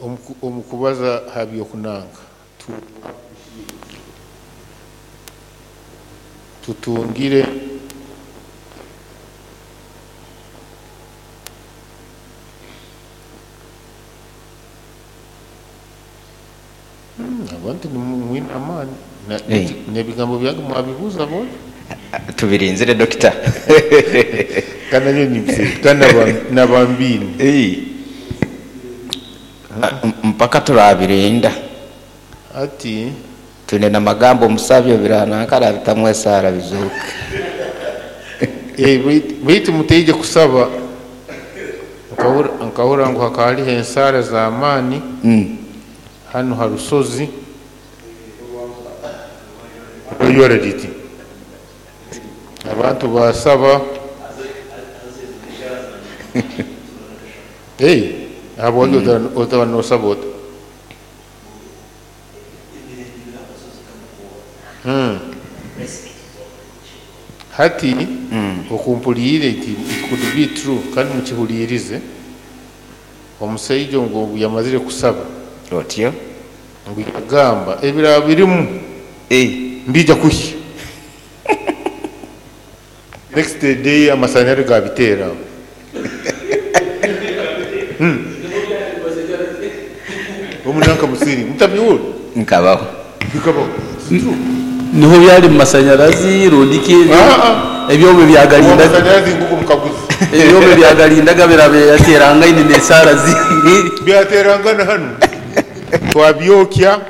Omu kubaza ha by'okunanka tutungire abantu nimwine amaani. N'ebigambo byange mwabibuuza bo. Tubirinzire, dokita. Kandi nabyo nibise kandi nabambiine. Mpaka turabirinda. Ati twine namagambo omusabyo biranankara bitamu esaara bizuuke. Baitu muteije kusaba nkahura ngu hakaba hariho ensaara z'amaani hanu ha rusozi rweyora riti abantu basaba. Habwaki otaba nosaba ota? Hati okumpuliire it could be true, kandi mukihuliirize. Omusaija ngu yamazire kusaba, otyo ngu yagamba ebiraba birimu mbija kuhya. Next day amasanyarazi gabiteera aho. Omunanka musiri mutabiwuli. Nkabaho. Bikabaho. Niho byali mu masanyarazi rundiki ebyoma byagalindaga. Amasanyarazi nguko mukaguzi. Ebyoma byagalindaga birabe yaterangaine n'esaara zi byaterangana hano twabyokya.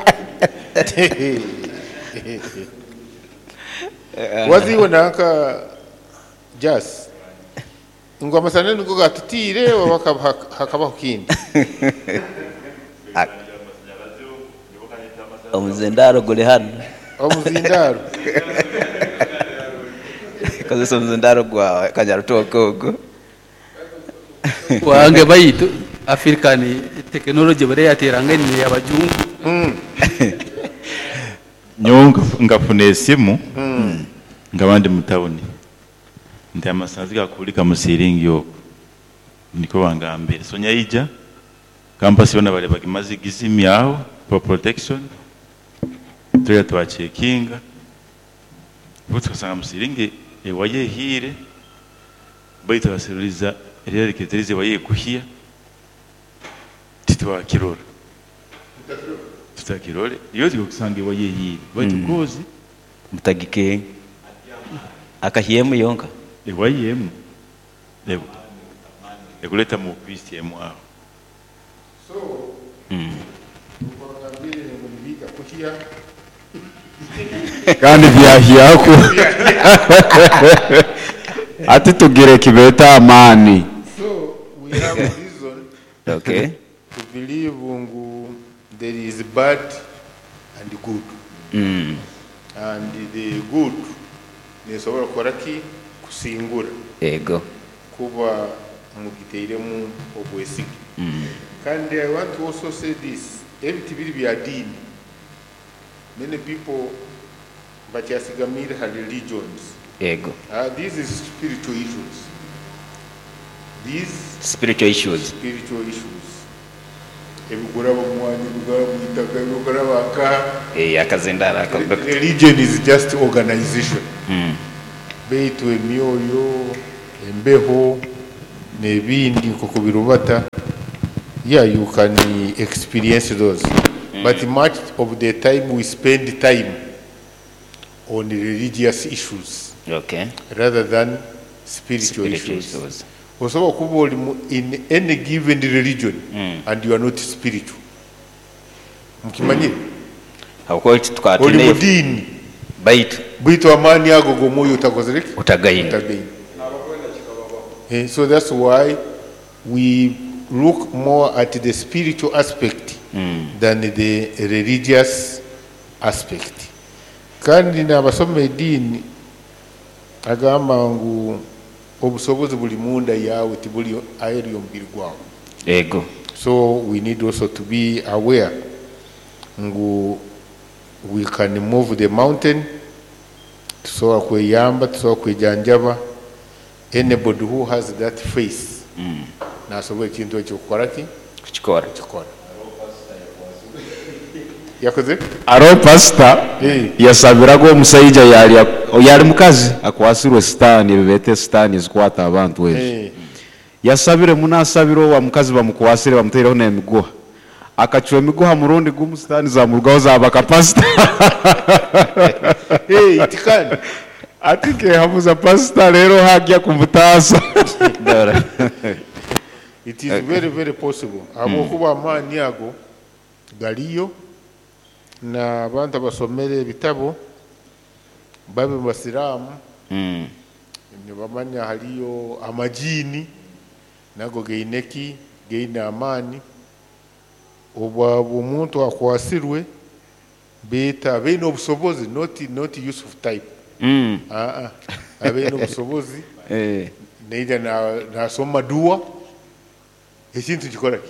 Waziwe nanka jas ngo amasanyarazi niko gatutiire oba hakabaho kindi. Omuzindaro guri hano. Omuzindaro. Kozesa omuzindaro gwawe kanyarutoke ogwo. Wange baitu African technology bari yaterangaine y'abajungu. Nyowe nkafuna esimu nga bandi mu tawuni nti amasanyarazi gakulika mu siringi okwo niko bangambire. So nyaija campus yona bali bagimaze gizimyaho for protection, tuya twacekinga bo tukasanga mu siringi ewaye ehire, baitu baseruliza eryereketerize ewaye ekuhya titwakirora tutakirore iyo tukusanga ewaye ehire baitu kozi mutagike akahyemu yonka ewayemu ekuleta mu ofisi emu aho. So kandi byahyako ati tugire kibeta amani. So we have reason to believe ngu there is bad and good. And the good nesobora kukora ki? Kusingura. Ego. Kuba mugiteiremu obwesige. Kandi I want to also say this, ebiti biri bya dini. Many people bakyasigamire ha religions. Ego. These is spiritual issues. These spiritual issues. Spiritual issues. Ebiguraba mwani, ebiguraba mwitaka, ebiguraba aka. Akazindara ako. Religion is just organization. Beitu emyoyo, embeho, n'ebindi nk'oku birubata. Yeah, you can experience those. But much of the time we spend time on religious issues. Rather than spiritual issues. Issues. Osobola kuba oli in any given religion and you are not spiritual. Mukimanyire? Habwokuba Oli mu dini. Baitu. Baitu amaani ago g'omwoyo utakozere ki? Utagaine. Utagaine. So that's why we look more at the spiritual aspect than the religious aspect. Kandi n'abasoma ediini agamba ngu obusobozi buli munda yawe tibuli aheru y'omubiri gwawe. Ego. So we need also to be aware ngu we can move the mountain, tusobola kweyamba, tusobola kwejanjaba. Anybody who has that faith nasobola ekintu ekyo kukora ki? Kukikora. Kukikora. Yakoze? Aro pasita yasabiraga omusaija yali yali mukazi akwasirwe sitaani, ebibeeta sitaani ezikwata abantu ezo. Yasabire muno, asabire owa mukazi bamukwasire, bamutaireho n'emiguha, akacwa emiguha murundi gumu, sitaani zamurugaho zabaka pasita. Hey, it can. Ati nkehabuza pasita rero hajya kumutaasa. It is very very possible, habwokuba amaani ago galiyo n'abantu abasomere ebitabo babe basiraamu nibamanya haliyo amajini nago gaine ki, gaine amaani. Obwa omuntu akwasirwe beeta baine obusobozi, not Yusuf type. Abaine obusobozi. Naija nasoma dua, ekintu kikora ki?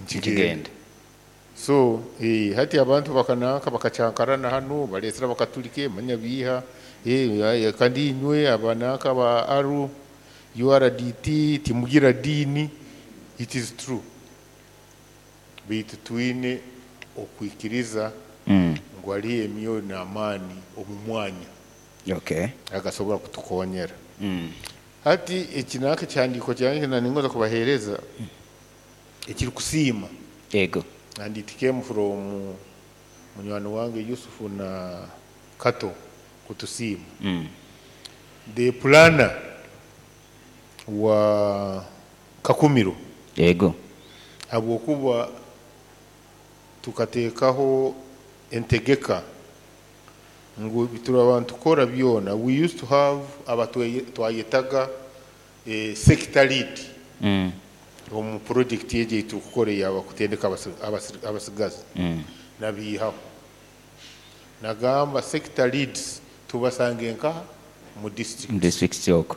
Nkigenda. Kigenda. So hati abantu bakananka bakacyankarana hano, baletera bakatulike manya biha kandi inywe abananka ba aru URDT timugira dini. It is true, baitu twine okwikiriza ngu haliyo emyoyo n'amaani omu mwanya agasobora kutukonyera. Hati eki nanka ekihandiiko kyange naningoza kubaheereza ekirikusiima. Ego. And it came from munywani wange Yusufu na Kato kutusiima. The planner wa Kakumiro, habwokuba tukateekaho entegeka ngu turaba ntukora byona. We used to have abatwayetaga sector lead omu project egi eitukukora eyaba kutendeka abasigazi. Nabiihaho, nagamba sector leads tubasange nkaha mu district. Mu district okwo.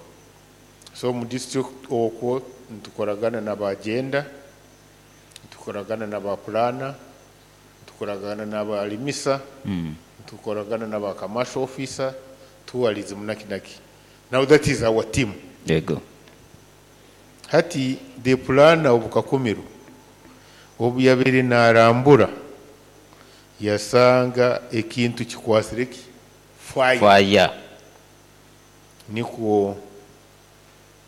So mu district okwo ntukoragana n'aba gender, ntukoragana n'aba planner, ntukoragana n'abalimisa, ntukoragana n'aba commercial officer, tourism naki naki. Now that is our team. Hati the planner obu Kakumiro obu yabaire narambura yasanga ekintu kikwasire ki fire. Fire. Nikwo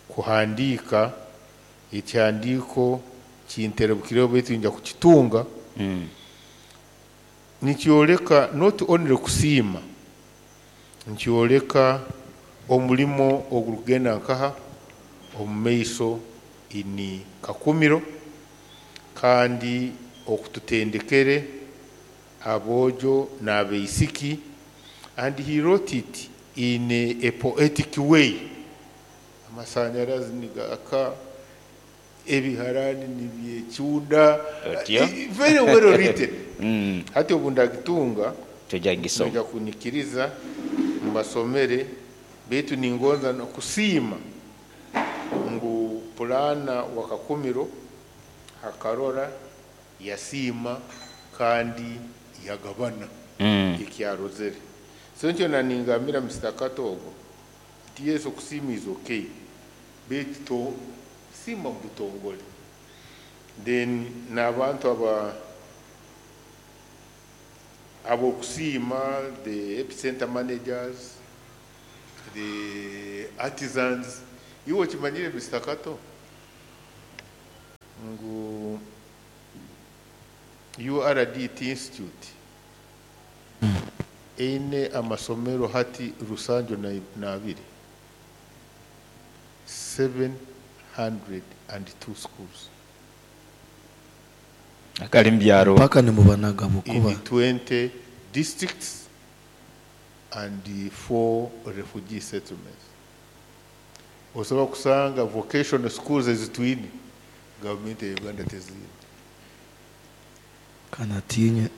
kuhandiika ekihandiiko kinterebukireho, baitu nja kukitunga. Nikyoleka not only kusiima, nikyoleka omulimo ogurikugenda nkaha omu maiso ini Kakumiro, kandi okututendekere aboojo n'abaisiki. And he wrote it in a poetic way. Amasanyarazi nigaka, ebiharani nibyekyunda. Otyo. Very well written. Hati obu ndagitunga, Tujja ngisoma. nja kunyikiriza mbasomere, baitu ningonza nokusiima ngu planner wa Kakumiro akarora, yasiima kandi yagabana ekyarozere. So nkyo naningambira Mr. Kato ogwo nti yes, okusiima is okay, baitu to siima mu butongole. Then n'abantu aba abokusiima, the epicenter managers, the artisans. Iwe okimanyire Mr. Kato ngu URDT Institute eine amasomero hati rusanju na abiri, 702 schools. Akali mubyaro. Mpaka nimubanaga bukuba. In 20 districts and the four refugee settlements. Osobola kusanga vocational schools ezitwine gavumenti ya Uganda teziine. Kanatinye.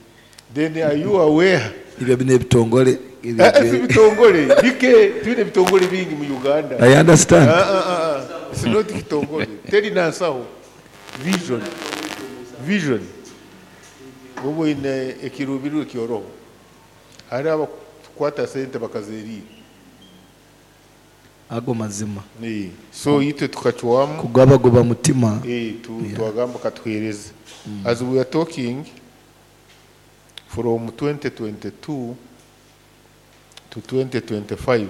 Then are you aware? Ibyo bino ebitongole. Si bitongole bike, twine ebitongole bingi mu Uganda. I understand. Ah, ah, ah, ah. It's not kitongole, teri nansaho vision, vision oba oyine ekiruubirirwa ekyoroho, hari abakukwata sente bakazeriira. Ago mazima. So itwe tukacwamu Kugabagoba mutima. Twagamba katuhereze. As we are talking, From 2022 to 2025,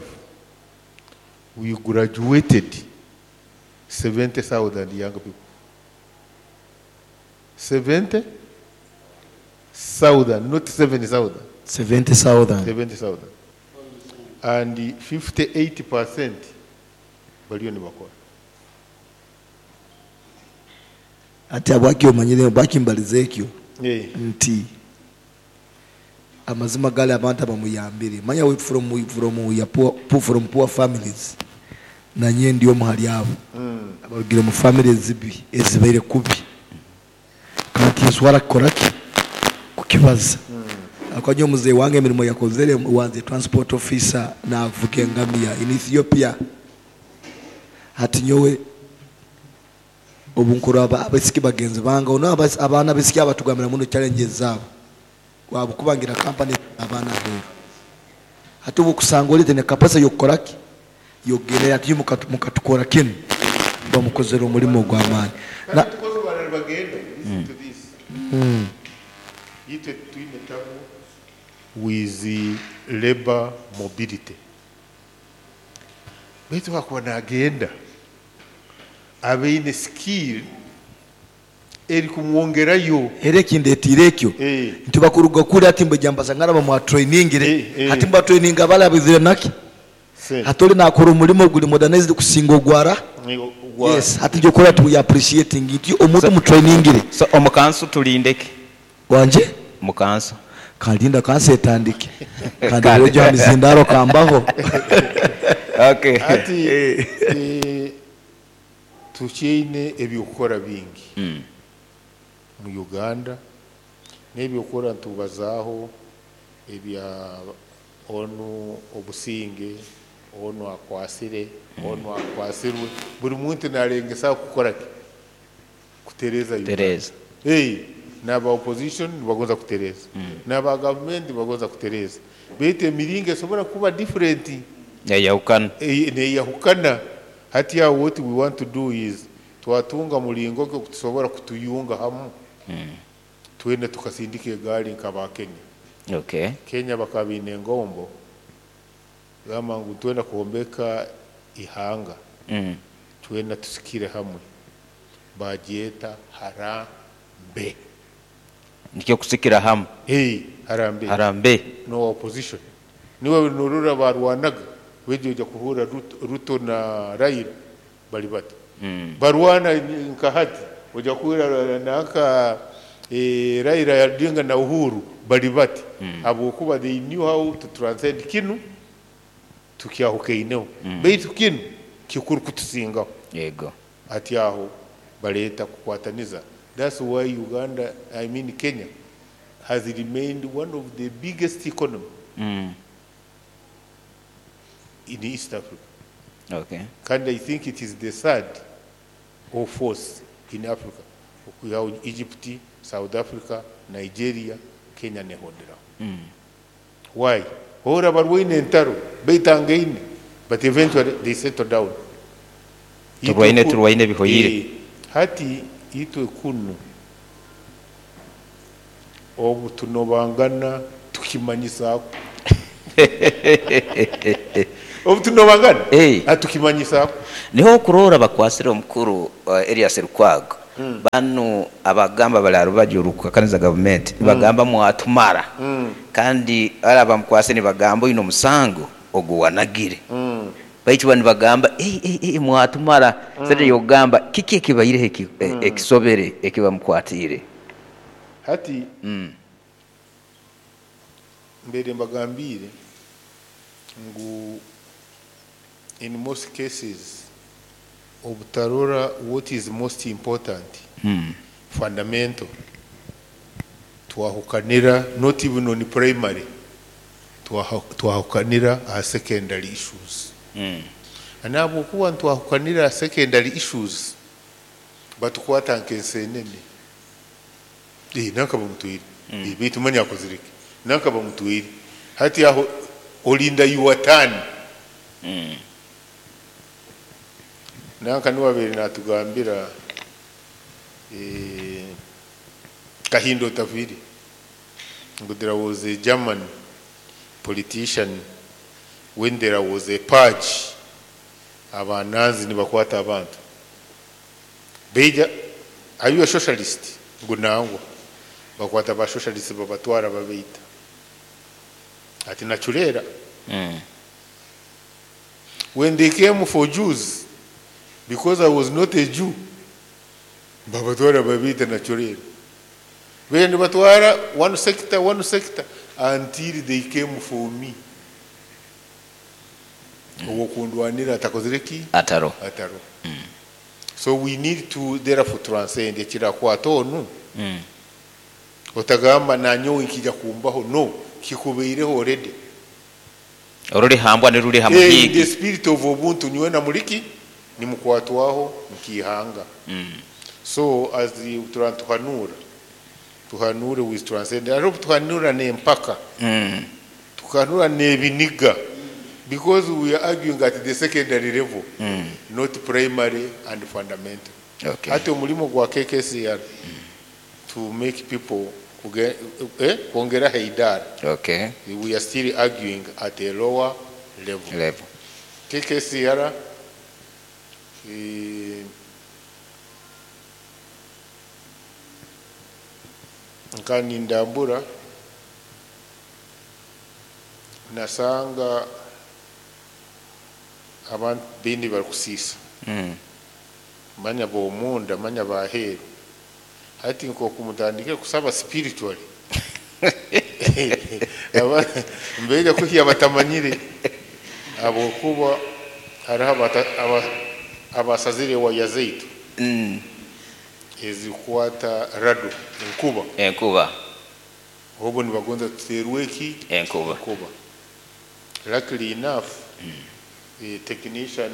we graduated 70,000 young people. 70,000, not 7,000. 70,000. 70,000. And 58% baliyo nibakora. Ati abwaki omanyire bwakimbaliza ekyo nti amazima gali abantu abamuyambire manya we from ya poor, from poor families, nanye ndi omu hali abo abarugire mu families zibi ezibaire kubi, kandi nswara kukoraki kukibaza. Akajya omuzeyi wange emirimo yakozere wanze transport officer navuga engamiya in Ethiopia. Hati nyowe obunkuru abasiki bagenzi bange ono abaana besiki abatugambira muno challenges zabo wabukubangira company abaana aheeru. Hati obukusanga olete ne capacity yokukoraki yogerera ati mukatukora kinu bamukozera omulimu ogw'amaani. Kandi tukoze barara bagenda. Listen to this. Itwe twine tabu with the labor mobility. Baitu bakuba nagenda abeine skill eri kumwongerayo. Era ekindetiire ekyo nti bakuruga kuri ati mbejambaza ngaraba mwa trainingire hati mba training abala bizire naki hati oli nakora omulimo guli modernized kusinga ogwara. Yes, hati njo kora tu appreciating it omuntu mu trainingire. So omukansu tulindeke wanje mukansu kalinda kansi etandike kandi rojo mizindaro kambaho. Okay. Ati tukiine ebyokukora bingi mu Uganda n'ebyokukora ntubazaaho ebya onu obusinge onu akwasire onu akwasirwe buri muntu narengesa kukora ki kutereza Uganda. Tereza. N'aba opposition bagonza kutereza, n'aba government bagonza kutereza, baitu emiringo esobora kuba different neyahukana. Neyahukana. Hati aho what we want to do is twatunga mulingo ki okutusobora kutuyunga hamu twende tukasindika egaali nk'aba Kenya. Okay. Kenya bakaba baine engombo gamba ngu twenda kuhombeka ihanga twenda tusikire hamwe bagyeta harambe. Nikyo kusikira hamwe. Harambe. Harambe. No opposition. Niwe nurura barwanaga wejo ojja kuhura Ruto na Raila bali bati. Barwana nka hati ojja kuhura naka Raila yadinga na Uhuru bali bati. Habwokuba they knew how to transcend kinu tukyahukaineho. Baitu kinu kikuru kutusingaho. Yego. Ati aho baleta kukwataniza. That's why Uganda, I mean Kenya, has remained one of the biggest economy in East Africa. Okay. And I think it is the third or fourth in Africa. We have Egypt, South Africa, Nigeria, Kenya nehondera. Why? Hora barwaine entaro, baitangaine, but eventually they settle down. Turwaine turwaine bihoyire. Hati itwe kunu obu tunobangana tukimanyisaako. Obu tunobangana atukimanyisaako. Niho okurora bakwasire omukuru Erias Lukwago. Banu abagamba bali arubaju rukakaniza government bagamba mwatumara. Kandi ara bamukwase ni bagamba ino musango oguwanagire. Baitu bani bagamba mwatumara. Sasa yogamba kiki ekibaire ekisobere ekibamukwatire. Hati mbere mbagambire ngu in most cases obutarora what is most important fundamental twahukanira not even on primary twahukanira a secondary issues. Anabo kuwa twahukanira secondary issues batukwata nkensenene nanka bamutwire bitu manya akozireke nanka bamutwire hati aho olinda yuwatani nanka niwabere natugambira Kahindo Tafiri Ngu there was a German politician when there was a purge, abanazi nibakwata abantu beija, are you a socialist? Ngu nangwa. Bakwata ba socialist babatwara babeita. Ati nachulera. When they came for Jews, because I was not a Jew, babatwara babeita nachulera. Benda batwara one sector, one sector, until they came for me. Owokundwanira atakozire ki? Ataro. Ataro. So we need to therefore transcend ekirakwata onu. Otagamba nanyowe nkija kumbaho, no, kikubeireho already. Oruri hambwa ni ruri In the hamuhigi. spirit of ubuntu niwe na muliki nimukwatwaho nkihanga. So as the tuhanura tuhanure with transcend, I hope tuhanura ne mpaka. Tuhanura ne biniga, because we are arguing at the secondary level, not primary and fundamental. Ate omulimo gwa KKCR to make people kuongera haidara. We are still arguing at a lower level. Level. KKCR, nkani ndambura nasanga abantu bindi bari kusisa. Manya bomunda, manya baheru. Hati nko kumutandike kusaba spiritually. Aba mbega kuhiya batamanyire abo kuba hariho abasazire wa yazeitu. Ezikwata rado enkuba. Enkuba. Obo nibagonza tuterweki enkuba. Enkuba. Luckily enough, the technician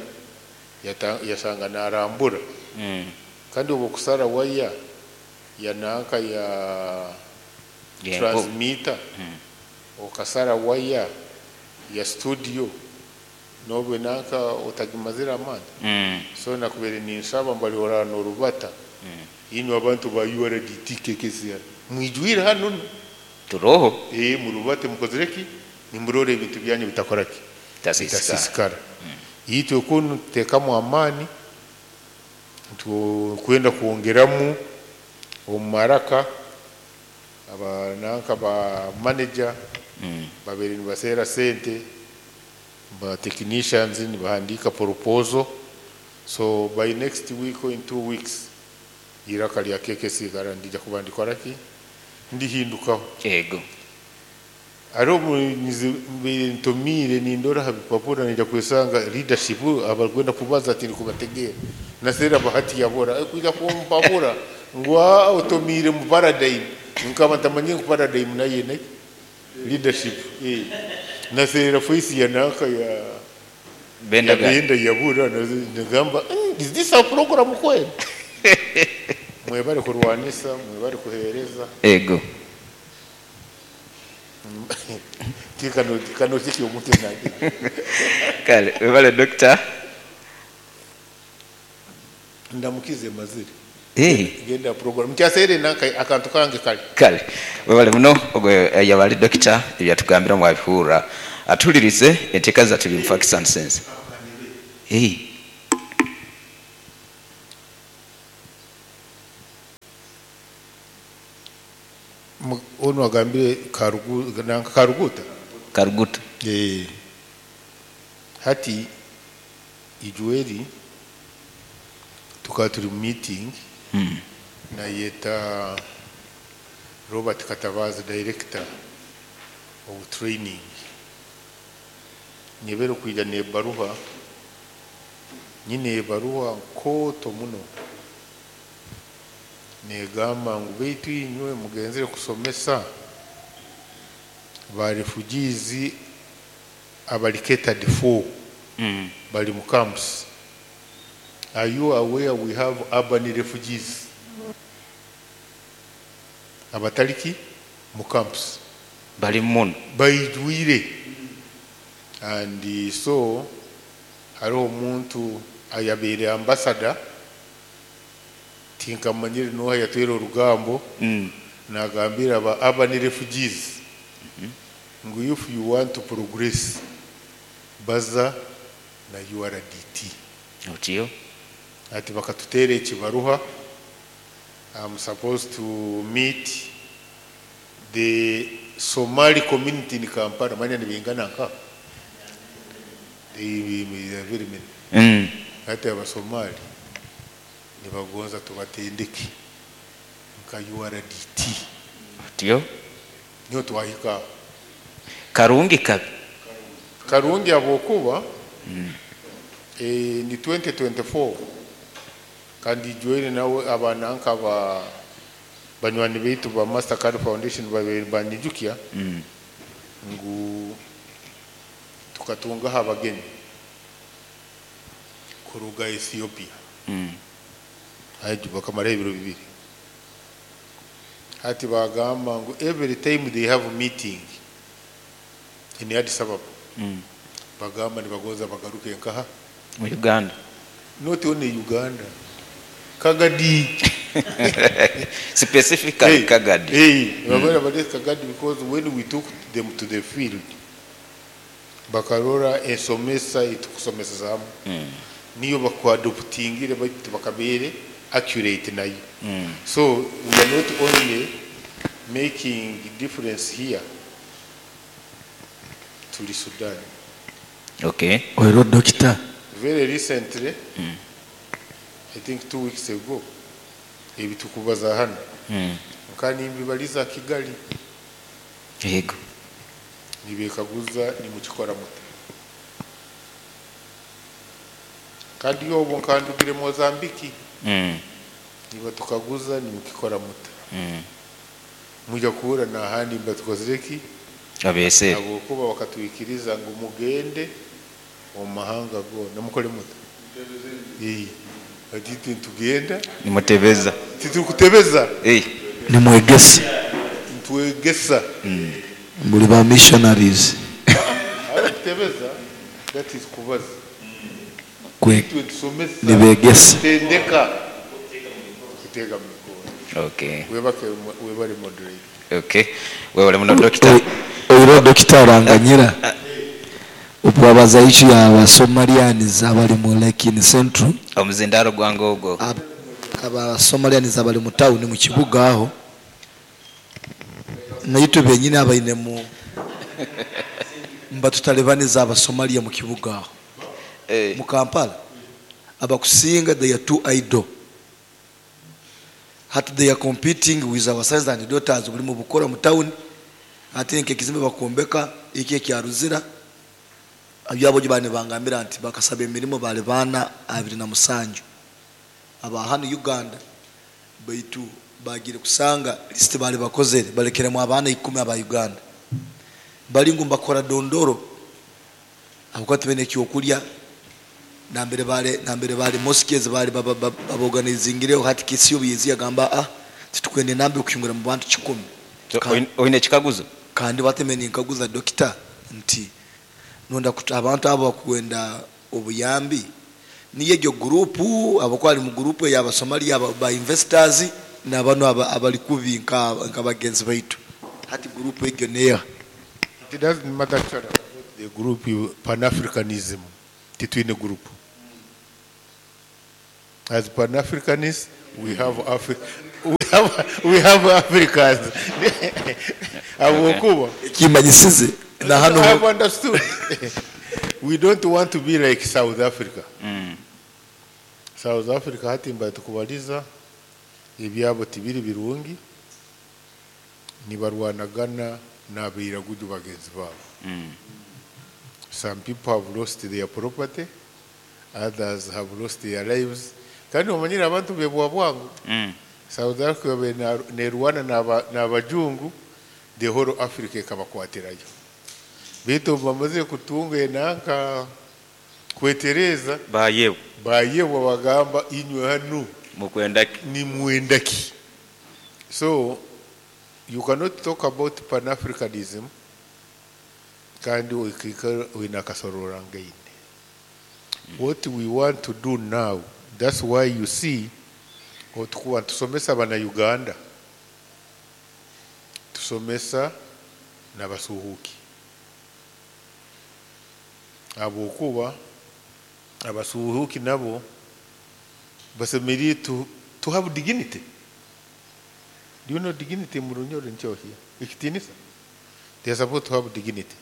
yasanga narambura. Kandi obo kusara waya ya nanka ya transmitter. Okasara waya ya studio nobe nanka otagimazira amani. So nakubere ninsaba mbali orano rubata. Ino abantu ba URDT KKCR. Mwijwire hano turoho. Murubate mukozereki nimurore ebintu byanyu bitakoraki. Bitasisikara. Yitwe kunu tekamu amani kwenda kuongeramu omumaraka abananka ba manager babiri nibasera sente ba technicians nibahandika proposal. So by next week or in 2 weeks iraka lya KKC garandija kubandikora ki ndihindukaho. Yego. Aro ntomire nindora habipapura nija kwesanga leadership abarwenda kubaza ati nikubategera nasera bahati yabora kuja kumpapura ngwa otomire mu paradigm nkaba ntamanye ku paradigm naye ne leadership nasera face ya naka ya benda benda yabura ngamba is this a program kweli? Mwebare kurwanisa, mwebare kuhereza. Ego. Kano kiki omuntu nage. Kale, mwebare doctor. Ndamukize maziri. Genda program. Mchasere nanka akantu kange kale. Kale. Mwebare muno ogwe yabali doctor ebyatugambira mwabihura. Atulirize enteka za tuli facts and sense. Ono agambire Karuguta. Karuguta. Hati ijueri tukaba turi meeting na yeta Robert Katabazi director of training. Nyebero kuija ne baruha nyine baruha koto muno negamba ngu beitu inywe mugenzere kusomesa ba refugees abali catered for bali mu camps. Are you aware we have urban refugees abataliki mu camps bali muno baijwire? And so hariho omuntu ayabere ambassador tinkamanyire noha yatwera orugambo. Nagambira aba urban refugees ngu if you want to progress, baza na URDT. Otyo. Ati bakatuteera ekibaruha. I'm supposed to meet the Somali community in Kampala. Manya nibingana nka they are very many. Ati Abasomali nibagonza tubatendeke nka URDT. Otyo. Niho twahika. Karungi kabi? Karungi habwokuba ni 2024 kandi join nawe abaana nka ba banywani baitu ba Mastercard Foundation babiri banijukya ngu tukatungaho abagenyi kuruga Ethiopia. Haji bakamara ebiro 2. Hati bagamba ngu every time they have meeting in Addis Ababa, bagamba nibagonza bagaruke nkaha mu Uganda. Not only Uganda, Kagadi. Specifically. Hey, Kagadi. Hey, mm. Kagadi, because when we took them to the field, bakarora ensomesa itukusomesa niyo bakwadoptingire baitu bakabere accurate nayo. So we are not only making difference here to the Sudan. Okay. Oiro doctor. Very recently, I think 2 weeks ago, ebitukubaza hano. Nkani mbibaliza Kigali. Yego. Nibekaguza ni mukikora muta. Kandi yobo nkandugire Mozambique. Niba tukaguza ni mukikora muta. Mujya kuhura na handi mbatukozereki abese. Abo kuba bakatwikiriza ngo mugende mu mahanga go namukore muta. Ati tugenda nimutebeza. Titukutebeza. Nimwegesa. Ntwegesa. Muri ba missionaries. Kutebeza, that is kubaza. Nibegesa. Tendeka. Kutega mikono. Okay. Webake webale moderate. Okay. Webale muno doctor. Oiro doctor aranganyira. Obwabaza ichi ya Somalians abali mu Lake in Central. Omuzindaro gwange ogwo. Aba Somalians abali mu town mu kibuga aho. Naitwe benyine abaine mu mbatutalebaniza aba Somalia mu kibuga aho. Mu Kampala abakusinga they are too idle. Hat they are competing with our sons and daughters buli mu bukora mu town. Ate nke kizimbe bakombeka iki kyaruzira abyabo bane bangambira nti bakasaba emirimo bale bana 27 aba hano Uganda baitu bagire kusanga list bale bakozere balekeremu abana 10 aba Uganda bali ngumba kora dondoro abakwati bene kyokulya nambere bale mosques bale baboganizingire hati kisiyo byezi yagamba titukwende nambe okuyungura mu bantu 10. Oine kikaguzo kandi batemene nkaguza doctor nti nonda kuta abantu abo bakwenda obuyambi niye gyo group abakwali mu group ya Somalia ba investors nabano abali kubi nka bagenzi baitu hati group egyo neya. It doesn't matter actually about the group Pan-Africanism titwine group. As Pan-Africanists we have we have Africans. Abokuba kimanyisize na hano I have understood. We don't want to be like South Africa. South Africa hatimba tukubaliza ebyabo tibiri birungi nibarwanagana n'abiraguju bagenzi babo. Some people have lost their property, others have lost their lives. Kandi omanyira abantu bebwa bwangu. South Africa nerwana n'abajungu, the whole Africa ekabakwatirayo. Bitu bamaze kutunga enanka kwetereza bayewe bagamba inywe hanu mukwendaki ni mwendaki. So you cannot talk about Pan-Africanism kandi winakasorora ngaine. What we want to do now, that's why you see otukuwa tusomesa bana Uganda. Ntusomesa n'abasuhuuki, habwokuba abasuhuuki nabo basemeriire to have dignity. Do you know dignity mu Runyoro nikyo ekitiinisa? They are supposed to have dignity.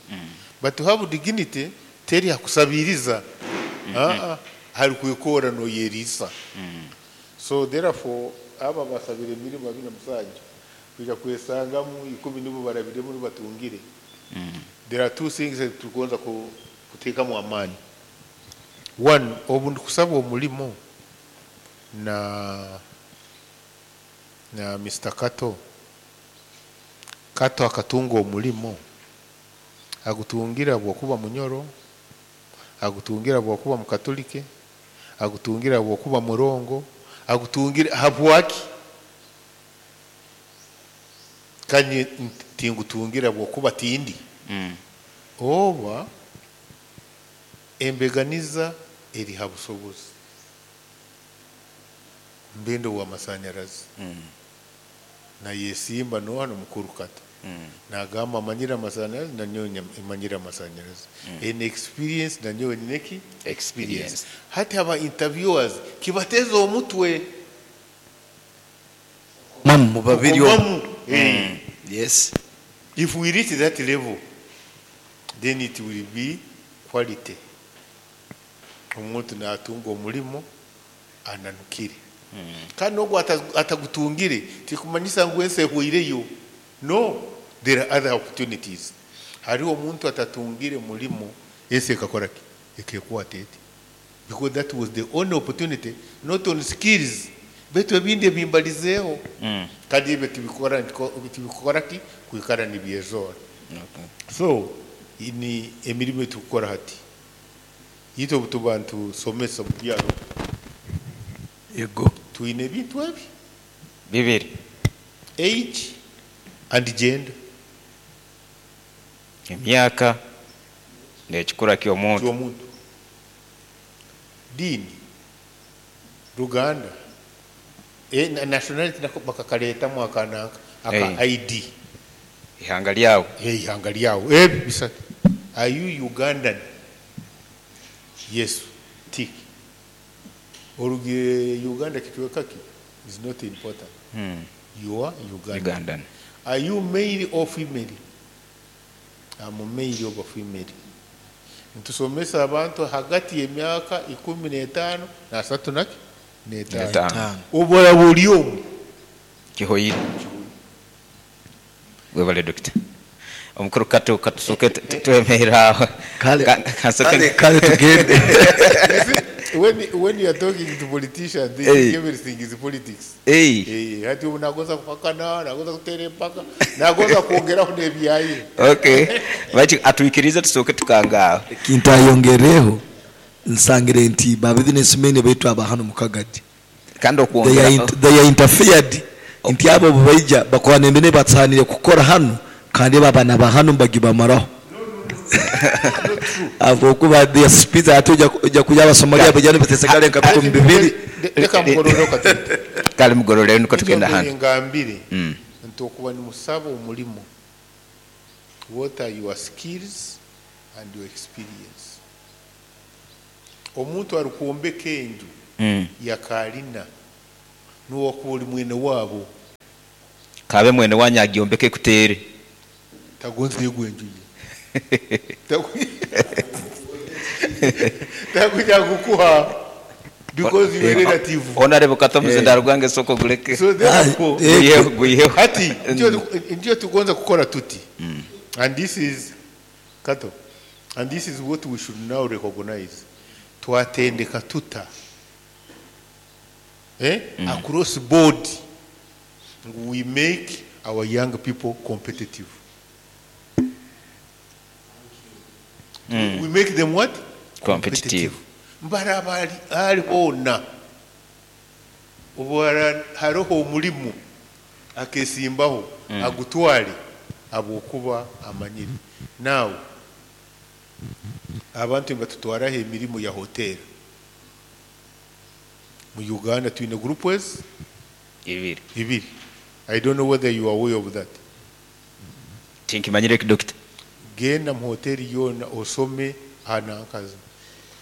But to have dignity teri hakusabiriza. Hari kwikora noyeriisa. So therefore aba basabire emirimu 27 kuja kwesangamu 10 nibo barabiremu nibatungire. There are two things that tugonza kuteekamu amaani. One, obu ndikusaba omulimo na Mr. Kato, Kato akatunga omulimo, agutungira bwokuba Munyoro, agutungira bwokuba Mukatolike, agutungira bwokuba Murongo, agutungira habwaki? Kandi tingutungira bwokuba tindi. Oba embeganiza eri ha busobozi, mbendo w'amasanyarazi nayesimba nohano mukuru Kato nagamba amanyire amasanyarazi, nanyowe manyire amasanyarazi, ene experience nanyowe nineki experience. Hati aba interviewers kibateza omutwe. Mamu mu babiri omu. Kukomamu. Yes. If we reach that level, then it will be quality. Omuntu natunga omulimo ananukire, kandi nogwo atagutungire tikumanyisa ngu ensi ehweireyo. No, there are other opportunities. Hariho omuntu atatungire mulimo, ensi ekakora ki? Ekekwata eti, because that was the only opportunity, not on skills, baitu ebindi ebimbalizeeho. Kandi ebyo tibikora ki kwikara nibyezora. So ni emirimu etukukora hati itwe obutuba ntusomesa mu byaro. Yego. Twine ebintu ebi bibiri: age and gender. Emyaka n'ekikura ky'omuntu. Ky'omuntu, diini, ruganda, nationality nako bakakaleetamu akananka aka ID. Ihanga lyawe. Ihanga lyawe. Ebi bisatu. Are you Ugandan? Yes, tick. Orugire Uganda kicweka ki is not important. You are Ugandan. Ugandan. Are you male or female? I'm male or female. Ntusomesa abantu hagati y'emyaka 15 na 35. Etaano. Obora buli omu. Kihoyire. Webale dokita. Omukuru Kato, katusoke twemerera aho. Kale. Kansoke. Kale tugende. You see, when you are talking to politicians, they think everything is politics. Hati ubu nagoza kuhakana, nagoza kutera empaka, nagoza kwongeraho n'ebyaye. Okay, baki atwikirize tusooke tukangaaho. Kintayongereho nsangire nti ba businessmen baitu aba hano mu Kagadi kandi they okwongera are, they are interfered nti abo baija bakora nembene batsanire kukora hano kandi babana ba hano mbagibamaraho abo kuba their speeds ate ojja kuja Abasomalia bajja nibatesegale nka 20,000. Reka mugorore katete. Kale mugorore niko tugenda hano. Ngambire nti okuba nimusaba omulimo, what are your skills and your experience? Omuntu arikwombeka enju yakalina nuwakuba ori mwene waabo. Kabe mwene wanyu agyombeke kutere. Tagonza yegwa enju ye. Takuja kukuha because you are relative. Honorable Kato, muzindaro gwange soko guleke. So therefore, Guyiheho, guyiheho. Hati ndio tugonza kukora tuti. And this is Kato, and this is what we should now recognize. Twatendeka tuta across board, we make our young people competitive. We make them what? Competitive. Mbara ali ona obwara haroho omulimu akesimbaho agutwale abwokuba amanyire. Now abantu batutwaraho emirimu ya hotel mu Uganda, twine groups ibiri. Ibiri. I don't know whether you are aware of that. Tinkimanyire eki, dokita. Genda mu hoteri yoona osome aha nankazi.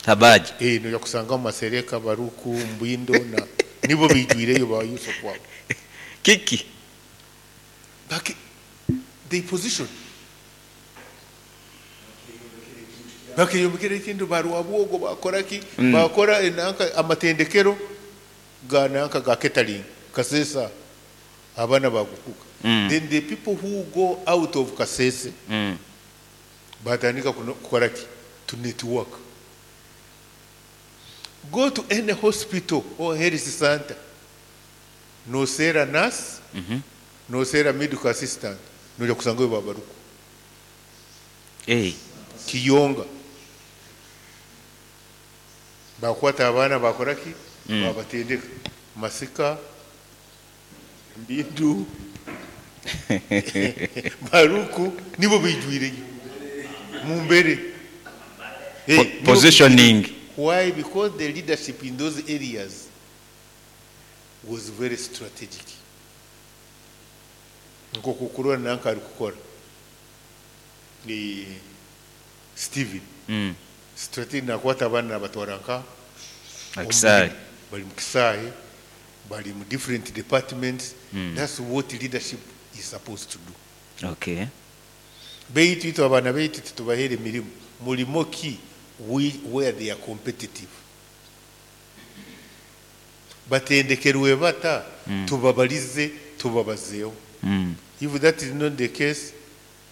Habaji. Eh, noja kusangamu Masereka, Baruku, Mbindo na nibo bijwireyo ba Yusuf wabo. Kiki? Baki they position. Bakeyombekera ekintu barwabwogo bakora ki? Bakora enanka amatendekero ga nanka ga catering Kasesa abaana bagukuka. Then the people who go out of Kasese batandika kukola ki? To network. Go to any hospital or health center. Noseera nurse, noseera medical assistant, noja kusangayo babaruku. Hey. Kiyonga. Bakwata abaana bakora ki? Babatendeka. Masika, Mbindu, Baruku, nibo bijwireyo. Mumbere. Hey, nibo Positioning. Why? Because the leadership in those areas was very strategic. Nkokukurora nanka ari kukora. Ni Steven. Strategic nakwata abaana nabatwara nka Akisaayi. Bali mu kisaayi, bali mu different departments. That's what leadership is supposed to do. Okay. Beitu itwe abaana beitu titubahere emirimu. Mulimo ki where they are competitive. Batendekerwe bata, tubabalize, tubabazeho. If that is not the case,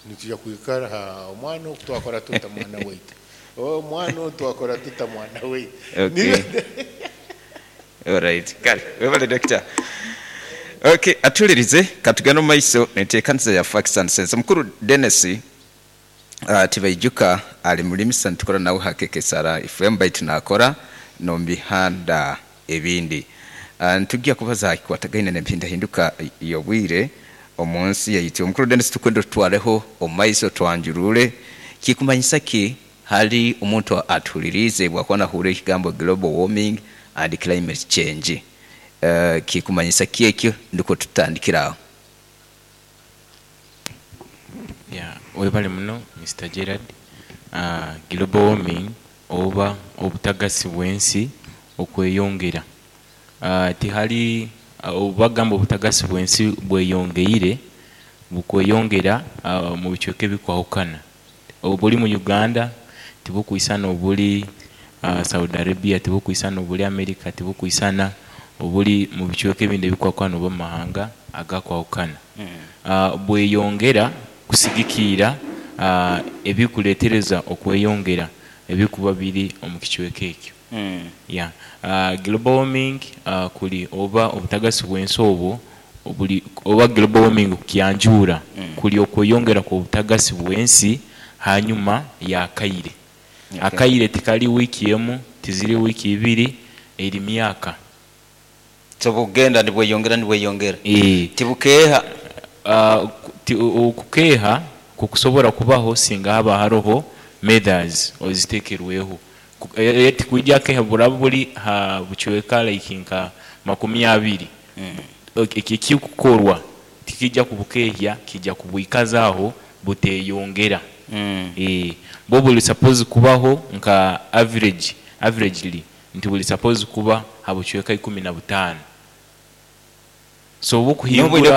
nituja kuikara ha omwana twakora tuta mwana waitu. Oh, omwana twakora tuta mwana waitu. Okay. All right. Kale, webale doctor. Okay, atulirize katugenda mu maiso neteekanisa ya Facts and Sense. Mukuru Dennis Tibaijuka ali mulimisa nitukora nawe hakekesara FM baitu nakora nomubihanda ebindi. Nitujja kubaza kikwatagaine n'empindahinduka y'obwire omu nsi yaitu. Omukuru Dennis tukwenda tutwareho omu maiso twanjurure kikumanyisa ki hali omuntu atuhulirize bwakuba nahurira ekigambo global warming and climate change. Kikumanyisa ki ekyo ndiko tutandikiraho. Yeah, webale muno Mr. Gerard. Global warming oba obutagasi bw'ensi okweyongera. Tihali obagamba obutagasi bw'ensi bweyongeire bukweyongera mu bicweka ebikwahukana. Obuli mu Uganda tibukwisana obuli Saudi Arabia, tibukwisana obuli America, tibukwisana obuli mu bicweka ebindi ebikwahukana oba mu mahanga agakwahukana. Bweyongera kusigikiira ebikuleetereza okweyongera ebikuba biri omu kicweka ekyo. Yeah. Global warming kuli oba obutagasi bw'ensi obwo obuli oba global warming kukyanjura kuli okweyongera kw'obutagasi bw'ensi hanyuma ya kaire. Akaire tikali wiiki emu, tiziri wiiki ibiri, eri myaka. So bugenda nibweyongera nibweyongera. Tibukeeha. Okukeeha kukusobora kubaho singa haba haroho methods oziteekerweho. Tikwijja keeha buraba buri ha bucweka like nka 20. Ekikukorwa tikijja kubukeehya, kijja kubwikazaaho buteyongera. Bo buli suppose kubaho nka averagely nti buli suppose kuba ha bucweka 15. So bukuhingura